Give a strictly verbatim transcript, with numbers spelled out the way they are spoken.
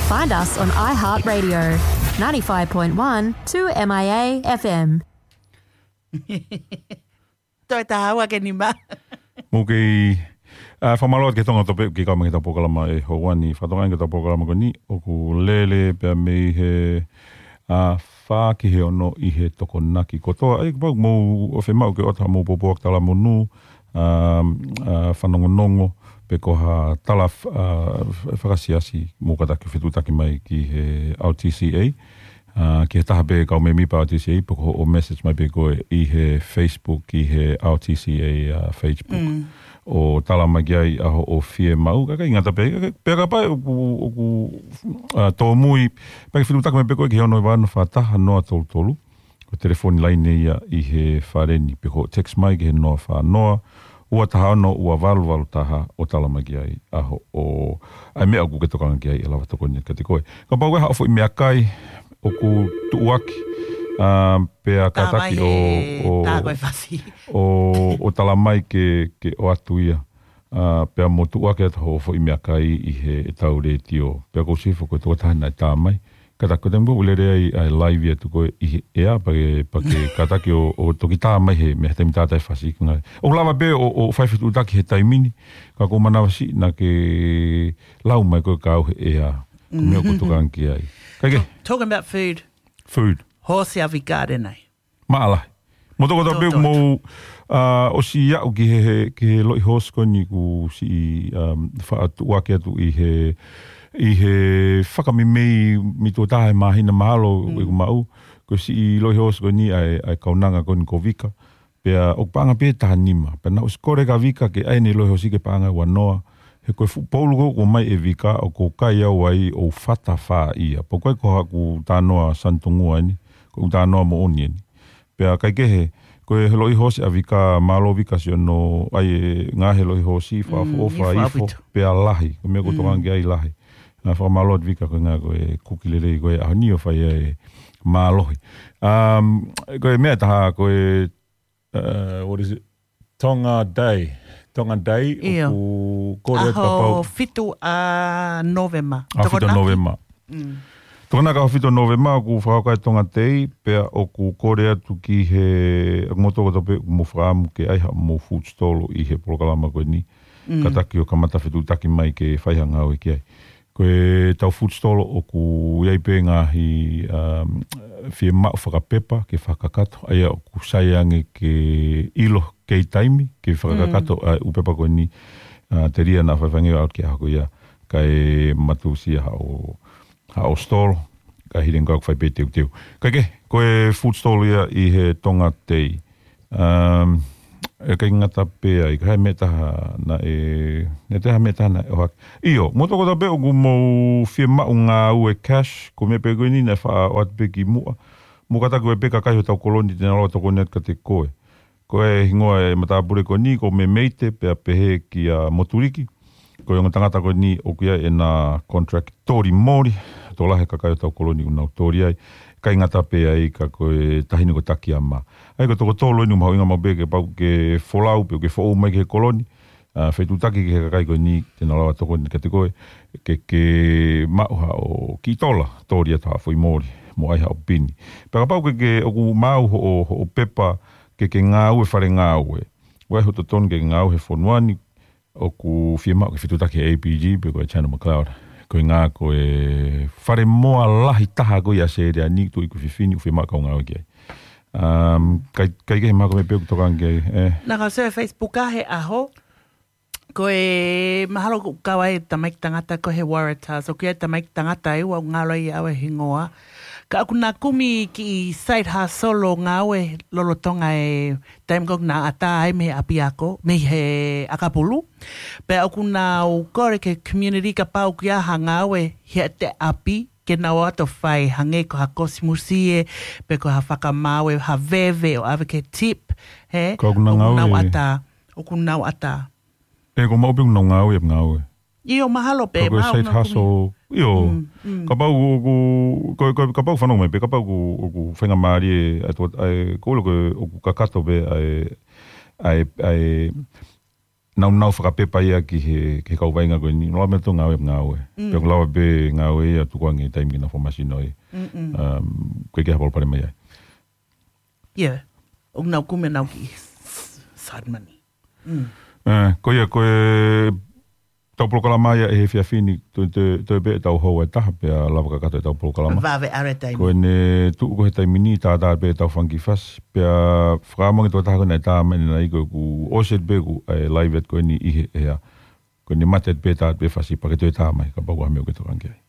Find us on iHeartRadio, ninety-five point one two M I A F M. Toe taha ua ke nima. Mou kei, ʻa, fakamālō atu ki he Tonga Tope, ke kau mai ki heʻetau polokalama ʻi he ʻaho ni. Fakatokangaʻi ʻetau polokalama ko eni, ʻoku lele pē mei he, ʻa, fā ki he ono ʻi he Tokonaki kotoa. ʻAi, kapau mou ʻofa maʻu ke ʻoatu haʻamou pōpoaki talamonū, ʻa, ʻa, fanongonongo, pe ko ha tala f-, ʻa, f-, fakasiasi, mou kātaki fetuʻutaki mai ki he R T C A, ʻa, ki he taha pē kau mēmipa R T C A, pe ko hoʻo message mai pē koe ʻi he Facebook, ki he R T C A, ʻa, Facebook. Mm. ʻO tala mai ki ai ʻa hoʻo fiemaʻu, kae ʻikai ngata pē, kae, pea kapau ʻoku, ʻoku, ʻa, tōmui, pea ke fetuʻutaki mai pē koe ki he ono hiva ono fā taha noa tolu tolu, ko e telefoni laine ia ʻi he fale ni, pe ko e text mai ki he noa fā noa, ua taha ono, ua valu valu taha, ʻo tala mai ki ai ʻa hoʻo, ʻa e meʻa ʻoku ke tokanga ki ai ʻe lava tokoni kiate koe. Kapau ʻe haʻo foʻi meʻakai ʻoku tuʻuaki, ʻa, pea Tā mai kātaki ʻo, he ʻo, tā ko e fasi. ʻo, ʻo tala mai ke, ke ʻoatu ia. ʻA, pea mo tuʻuaki atu hoʻo foʻi meʻakai ʻi heʻetau letiō. Pea ʻoku ou sifo ko e tokotaha naʻe tā mai. Kātaki ko e taimi ʻoku lele ai ʻa e live atu ko ē ʻi he ʻea, pea ke, pea ke kātaki ʻo, ʻo toki tā mai he meʻa he taimi tātā e fasi ko ē. ʻOku lava pē ʻo, ʻo fai fetuʻutaki he taimi ni, ka ʻoku ou manavasiʻi naʻa ke lau mai ko e kau he ʻea. Ko e meʻa ʻoku tokanga ki ai. Kae kehe. Talk-, talking about food. Food. Hoosi ʻa Vika ʻanenai. Maʻalahi. Mo toko taha pē Tō, tō, mou, ʻa, ʻosi aʻu ki he, he, ki he loʻi hoosi ko eni kuo siʻi, um, faʻa tuʻuaki atu ʻi he, ʻi he fakameimei mei tuʻa taha he māhina mahalo Mm. ʻeku maʻu. Kuo siʻi loʻi hoosi ko eni ʻa e, ʻa e kaunanga ko eni ko Vika. Pea ʻoku paʻanga pē taha nima. Pea naʻe ʻosi kole kia Vika ke ʻai ʻene loʻi hoosi ke paʻanga ua noa. He ko e fuʻu poulu ko ē ʻoku ʻomai ʻe Vika ʻoku ou kai au ai ʻo fata fā ia. Pea ʻoku ʻikai ko haʻaku talanoa sanitongua eni, ko ʻeku talanoa moʻoni eni. Pea kae kehe, ko e loʻi hoosi ʻa Vika, mālō Vika siʻono, ʻai e ngaahi loʻi hoosi, Mm, fakaʻofoʻofa, ifo, ifo, ʻaupito. Pea lahi. Ko e meʻa ʻoku Mm. tokanga ki ai lahi. ʻA, fakamālō atu Vika ko e ngaahi ko e kuki lelei ko ē ʻaho ni ʻo fai ai e mālohi. Um, ko e meʻa ʻe taha, ko e, uh, what is it? Tonga Day. Tonga Day, ʻIo. ʻoku kole atu ʻAho kapau fitu ʻa Nōvema. ʻAho fitu ʻa Tokonaki. Nōvema. Mm. Tokonaki ʻaho fitu ʻa Nōvema, ʻoku fakahoko ai Tonga Day, pea ʻoku kole atu ki he, ʻa, mou toko taha pē, ʻoku mou fakaʻamu ke ʻai haʻamou food stall ʻi he polokalama ko eni. Mm. Kātaki ʻo kamata fetuʻutaki mai ke fai ha ngāue ki ai. Ko ʻetau food stall ʻoku ʻi ai pē ngaahi, um, fiemaʻu fakapepa ke fakakakato. ʻA ia ʻoku sai ange ke ʻilo kei taimi, ke fakakakato Mm. ʻa e ʻū pepa ko eni, uh, telia naʻa faifangeo out ki he ʻaho ko ia. Kae matusia haʻo, haʻo stall, kae hili ange ʻoku fai pē teuteu. Kae kehe, ko e food stall ia ʻi he Tonga Day. Um, ʻe ʻikai ngata pē ai, ka ʻi ai ha meʻa ʻe taha naʻe, naʻe toe ʻi ai ha meʻa ʻe taha naʻe ʻohake. ʻIo, mou toko taha pē ʻoku mou fiemaʻu ngāue cash, ko e meʻa pē ko eni naʻe faʻa ʻoatu pē kimuʻa. Mou kātaki ʻo ʻai pē kakai hotau koloni te nau lava tokoni atu kiate koe. Ko e hingoa e matāpule ko eni, ko Memeite, pea pehē kia Motuliki. Ko e ongo tangata ko eni ʻoku ʻi ai ʻena contract toli moli, tokolahi e kakai hotau koloni ʻoku nau toli ai, ʻikai ngata pē ai ka ko e taʻahine ko Takiama. ʻA ia ko e toko tolu eni ʻoku mahuʻinga maʻu pē kapau ke folau pe ke foʻou mai ki he koloni, ʻa, fetuʻutaki ki he kakai ko eni te nau lava tokoni kiate koe, ke, ke maʻu haʻo kiʻi tola, toli atu haʻo foʻi moli, mo ʻai haʻo pini. Pea kapau ke, ke ʻoku maʻu hoʻo, hoʻo pepa ke, ke ngāue fale ngāue. ʻOku ʻi ai hoʻo totonu ke ngāue he fonua ni, ʻoku fiemaʻu ke fetuʻutaki he A P G pe ko e Channel McLeod. Ko e ngaahi ko e fale moa lahi taha ko ia ʻAositelēlia ni, tuʻi ko e fefine ʻoku fiemaʻu kau ngāue ki ai. Um, kae, kae kehe mahalo ko e meʻa pē ʻoku tokanga ki ai, eh. Naʻa ku sio he Facebook ʻa e ʻaho, ko e mahalo ʻoku kau ai e tamaiki tangata ko ē he Waratahs, ʻoku ʻi ai e tamaiki tangata ʻe ua ʻoku ngalo ai au e hingoa. Ka ʻoku na kumi kiʻi side hustle ʻo ngāue lolotonga e taimi ko ē ʻoku na ʻatā ai mei he ʻapiako, mei he ʻakapulu. Pea ʻoku nau kole ki he community kapau ʻoku ʻi ai ha ngāue heʻete ʻapi, ke nau ō atu ʻo fai, hangē ko ha kosimusie, pe ko ha fakamaau, ha veve ʻo ʻave ki he tip, he? Ka ʻoku na ʻOku nau ngāue. ʻatā, ʻoku nau ʻatā. ʻE, ʻoku maʻu pē ʻoku nau ngāue, ngāue. ʻIo, mahalo pē, Ka ko e mahalo side nau kumi. hustle, ʻio. Mm, mm. Kapau ʻoku, ko, ko, kapau fanongo mai pē, kapau ʻoku, ʻoku faingamālie, ʻa e to-, ʻa e, ko e ʻilo ko e, ʻoku kakato pē, ʻa e, ʻa e, ʻa e, naunau fakapepa ia ki he, ki he kau vaʻinga ko eni, lava meʻa tō ngāue, ngāue. Pea ʻoku lava pē ngāue ia tukuange taimi ke nau fakamasino ai. Um, ko e kiʻi palopalema ia. Ia, ʻoku nau kumi ʻenau kiʻi side money. Eh, ko ia, ko e tau polokalama ia ʻi he efiafi ni, toe, toe, toe pē ʻetau houa ʻe taha pea lava kakato ʻetau polokalama. Vave ʻalu e taimi. Ko ʻene tuʻu ko ē he taimi ni, tātā pē ʻetau fanga kiʻi fasi, pea fakaʻamu ange tō taha ko ē naʻe tā mai ʻanenai ko ʻeku ʻosi atu pē ʻeku, eh, live ʻet ko eni ʻi he ʻea. Ko ʻene mate atu pē tā atu pē fasi pea ke toe tā mai, kapau ko ha meʻa ʻoku ke tokanga ki ai.